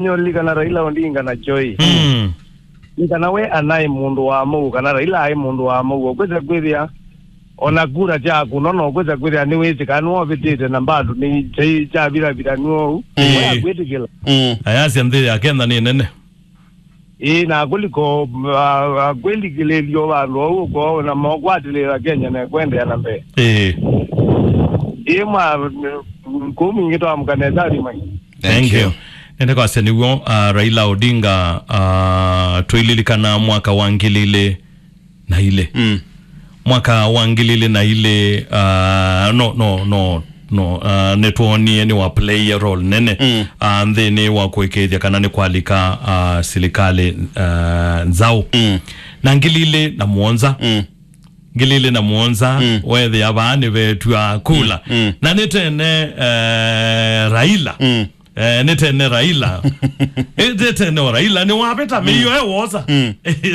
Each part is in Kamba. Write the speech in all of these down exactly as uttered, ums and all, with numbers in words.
Nĩũlilikana Raila Odinga na Joy? Mm. Nĩ kana we anaĩ mũndũ wa mũuo, kana Raila aĩ mũndũ wa mũuo, ũkwĩsa kwĩthĩa ona kura syaku, no, no ũkwĩsa kwĩthĩa nĩwĩsĩ kana nĩwovĩtĩte na bado nĩ kyai kyaviravira nĩwou. Mm. We akwĩtĩkĩla. Mm. Ayasya nthĩ ya Kenya nĩ nene. Ĩĩ, na kũliko, a, a, kwĩlikĩlĩlyo vandũ vau ũko na mokwatĩlĩla Kenya na kwendeea na mbee. Ĩĩ. Ĩĩ, mwa, kũu mwingĩ twamũka nesa athimai. Thank Thank you. you. Nende kwasya nĩw'o, uh, Raila Odinga, uh, tũililikana mwaka wa ngili ilĩ na ilĩ. Mm. Mwaka wa ngili ilĩ na ilĩ, uh, no, no, no, no, uh, nĩtwonie nĩ wa play a role nene, mm, uh, nthĩnĩ wa kũĩkĩĩthya kana nĩ kwalika, uh, silikalĩ, uh, nzaũ. Mm. Na ngili ilĩ na mũonza, mm, ngili ilĩ na mũonza, mm, weethĩa vaa nĩvetw'a kula. Mm. Mm. Na nĩ tene, eh, Raila. Mm. Eh, nĩ tene Raila. Eh, nĩ tene o Raila nĩwavĩta mĩio e wosa. Mm.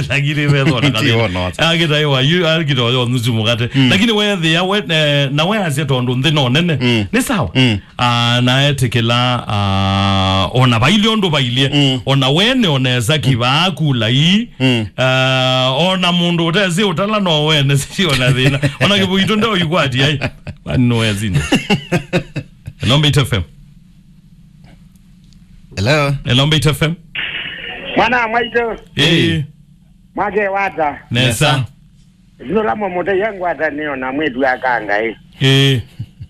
Lakini vethona Ndio kathina wonosa. Akĩtaĩwa yu akĩtoa nusu mũkate. Mm. Lakini weethĩa we, eh, na weasya tondũ nthĩ no nene. Mm. Nĩ sawa. Mm. Ah, na etĩkĩla, ah, ona vailye ũndũ vailye. Mm. Ona wene onesa kivaa kula ii. Mm. Ah, ona mũndũ ũtesĩ ũtala no wene si ona thĩna. Ona kĩvũitũ ndeũikwati ai. Vani no wesinde. Hello, Mbaitu F M. Hello. Hello, Mbaitu F M. Mwana wa mwaitũ. Ĩĩ. Mwake wata. Nesa. Nesa. Nũla mũmũteia ngwatanĩo na mwĩtu aka Ngai. Ĩĩ.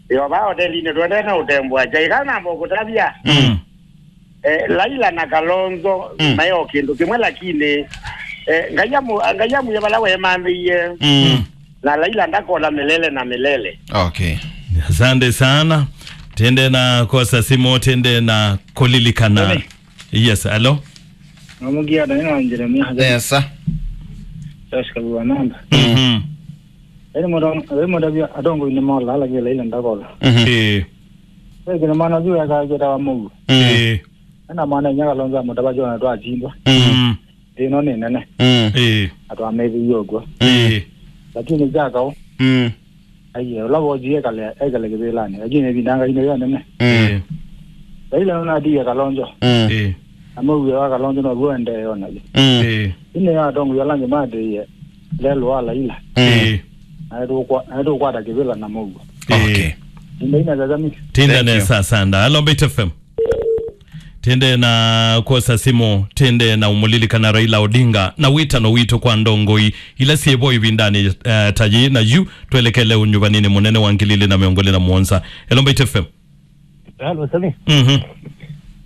Yo va hotelinĩ twendee na ũtembũa kyai kana namba ũkũtavya. Mm. Eh, Laila na Kalonzo, mm, mayo kĩndũ kĩmwe lakini, eh, Ngai amu-, Ngai amwĩe vala wemanthĩie. Mm. Na Laila ndakola milele na milele. Okay. Asante sana. Tende na kosa simo, tende na kulilikana. Tony. Yes, hello. Namugia Daniel na Jeremia. Yes, sir. Josh Kabuwa namba. Mhm. Eri moda, eri moda bia adongo ni mola la gela ile ndakola. Mhm. Eh. Eri kina mwana juu ya ka jeta wa Mungu. Mm. Eh. Ena mwana nyaka lonza mutaba jona twa chindwa. Mm. Ĩno nĩ nene. Mm. Ĩĩ. Atwameithĩie ũkw'o. Ĩĩ. Lakini jakao. Mm. Aiye, ũla wojie ekale, ekale kĩvĩlanĩ. Lakini ĩvinda Ngai nĩyo nene. Mm. Ĩĩ. Raila nũnatiie Kalonzo. Mm. Ĩĩ. Na mũuo wa Kalonzo now'o endee onayo. Mm. Ĩĩ. Ĩnĩ ya atongoria ala angĩ matĩie lelũ wa Raila. Mm. Ĩĩ. Na nĩtũkwa-, na nĩtũkwata kĩvĩla na mũuo. Okay. Ĩĩ. Tinda ina sasa miki. Tinda Thank you. nesa sana. Hello, Mbaitu F M. Tende na kwosa simu, tende na umulilikana Raila Odinga na witano witũ kwa ndongoi ila syĩvo ĩvindanĩ, eh, ta yĩĩ na yu twelekele ũnyuvanĩnĩ mũnene wa ngili ilĩ na mĩongo ĩlĩ na mũonza. Hello, Mbaitu F M. Hello, Sami. Mhm.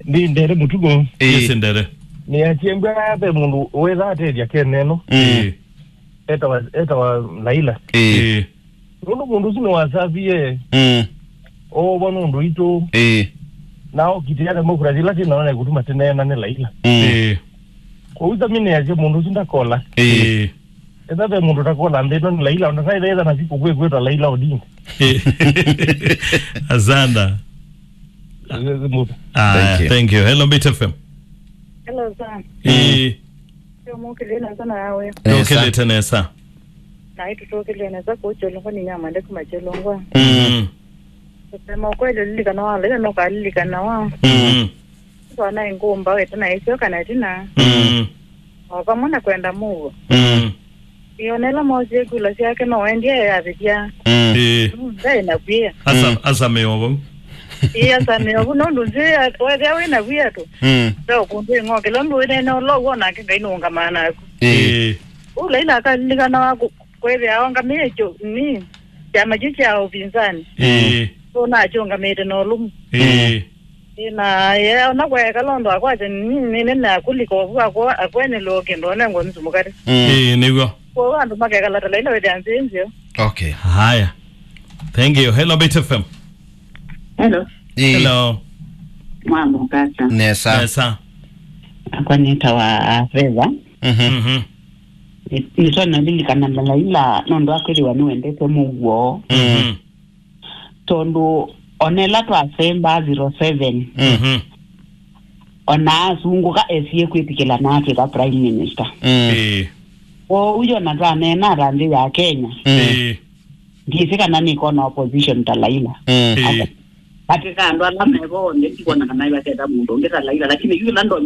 Ndi ndere mũtugo. Ĩĩ. Yes, ndere. Nĩ asyembwa ve mũndũ wetha atethya Kenya ĩno. Mm. Ĩĩ. Etawa, etawa Laila. Ĩĩ. Ĩĩ. Nũndũ mũndũ ũsu nĩwasavie, mm, oovwa nũndũ witũ. Ĩĩ. Na okitĩa demokrasi ĩla twĩ nayo na ĩkũtuma tũneena nĩ Laila. Mm. Ĩĩ. Kwoou Sami nĩasya mũndũ ũsu ndakola. Ĩĩ. Ĩĩ. Ethĩwa ve mũndũ ũtakola nthĩ ĩno nĩ Laila, ona saitha etha na siku kwĩ kwĩtwa Laila Odinga. Ĩĩ. Asanda. Aya, thank you. Thank you. Hello, Mbaitu F M. Hello, sir. Ĩĩ. Yo, mũkĩlĩte nesa nawe. Nesa. Tũkĩlĩte nesa. Naĩ tũtũkĩlĩte nesa kũu Kyolongwa, nĩ nyamande kuma Kyolongwa. Mm. Kusema ukweli, ũlilikana wa Laila, no kalilikana wa. Mm. Twana ngumba wete na isio kana tina. Mm. O vamwe na kwenda mũuo. Mm. Ĩĩ, ona ĩla moosie kula syake no wendie yavĩthya. Mm. Ĩĩ. Mm, ndaĩ na kwĩa. Asa, mm, asa mĩovo. Ĩĩ, asa mĩovo, nũndũ nzĩ wethĩa wĩ na wia tu. Mm. Nda ũkũndũ ĩng'okela ũndũ wĩnene ũla ũw'o nake Ngai nũũngamaa naku. Ĩĩ. Ĩĩ. Ũu Laila akalilikana wa ku-, kwĩthĩa aũngamĩe kyo, ni, kyama kyu kya ũvinzani. Ĩĩ. Ũnakyũngamĩte na ũlũmu. Ĩĩ. Ĩĩ, na ye ona kwaeka londo akwasya nĩ nene na kũlika ovu akwa akwenelwa kĩndũ onengwa nusu mũkate. Mm. Ĩĩ, nĩw'o. Kwoou andũ makekala ta Laila wĩthĩa nzĩ nzeo. Okay. Haya. Thank you. Hello, Mbaitu F M. Hello. Ĩĩ. Hello. Mwamũkata. Nesa. Nesa. Akwa nĩtawa Favor. Mhm. Mhm. Nĩ-, nĩtwanavilikana na Laila nũndũ akwĩthĩwa nĩwendete mũuo. Mhm. Tondũ ona ĩla twasembaa zero seven, mhm, ona asungũka esie kwĩtĩkĩla na atwĩka prime minister. Mm. Ĩĩ. Kwoou ona twaneenaa ta nthĩ ya Kenya, mm, ĩĩ, ndyĩsĩ kana nĩkona opposition ta Laila. Mm. Ĩĩ. Katĩ ka andũ ala me vo onthe, ndikwona kana ĩvaseta mũndũ ũngĩ ta Laila, lakini yu ĩla ndonya